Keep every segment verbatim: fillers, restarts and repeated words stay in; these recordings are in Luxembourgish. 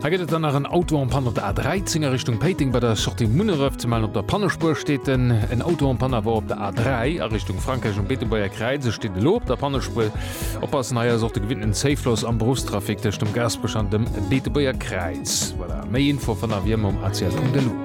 Hei gëtt et dann nach en Auto en panne op der A dräizéng a Richtung Péiteng bei der Sortie Munneref ze mellen. Op der Pannespuer steet en en Auto en panne awer op der A dräi a Richtung Frankräich um Beetebuerger Kräiz. E steet elo op der Pannespuer. Oppassen, hei ass och de gewinnten Zéifloss am Beruffstrafic tëscht dem Gaasperech an dem Beetebuerger Kräiz. Voilà, méi Info fannt der wéi ëmmer um A C L Punkt L U.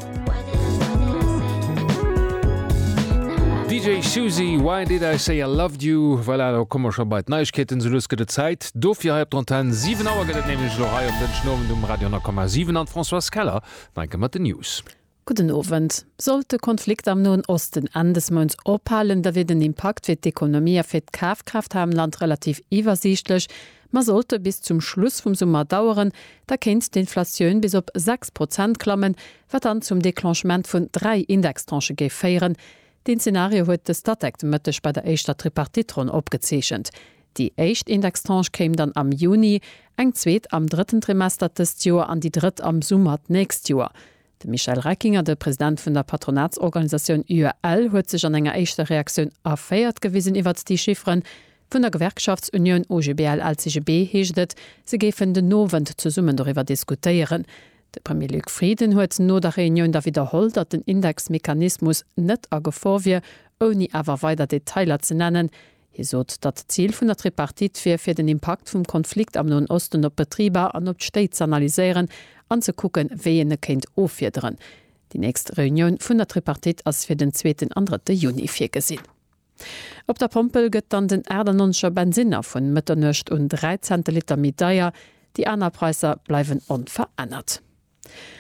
D J Suzy, Why Did I Say I Loved You? Voilà, do komme mer scho bei d'Neiegkeeten. Sou lues gëtt et Zäit dofir hei op der Antenn. Siwen Auer gëtt et nämlech elo hei um Dënschdenowend um Radio honnert Komma siwen an d'Françoise Keller nach eng Kéier mat den News. Gudden Owend. Sollt de Konflikt am Noen Osten Enn des Mounts ophalen, da wier den Impakt fir d'Ekonomie a fir d'Kafkraaft hei am Land relativ iwwersiichtlech. Ma sollt e bis zum Schluss vum Summer daueren, da kéint d'Inflatioun bis op sechs Prozent klammen, wat dann zum Declenchement vun dräi Indextranchë géif féieren. Deen Zenario huet de Statec de Mëtteg bei der éischter Tripartite-Ronn opgezeechent. Déi éischt Indextranche kéim dann am Juni, eng zweet am drëtten Trimester dëst Joer an déi drëtt am Summer d'nächst Joer. De Michel Reckinger, de President vun der Patronatsorganisatioun U E L, huet sech an enger éischter Reaktioun erféiert gewisen iwwert déi Chifferen. Vun der Gewerkschaftsunioun O G B L L C G B heescht et, se géifen den Owend zesummen doriwwer diskutéieren. De Premier Luc Frieden huet no der Reunioun da widderholl, datt den Indexmechanismus net a Gefor wier, ouni awer weider Detailer ze nennen. Hie sot, datt d'Zil vun der Tripartite wier, fir den Impakt vum Konflikt am Noen Osten op d'Betriber an op d'Stéit z'analyséieren an ze kucken, wéi een e kéint offiederen. Déi nächst Reunioun vun der Tripartite ass fir den zweeten an drëtte Juni virgesinn. Op der Pompel gëtt dann den achtannonzeger Bensinner vun Mëtternuecht un dräi Cent de Liter méi deier, déi aner Präisser bleiwen onverännert.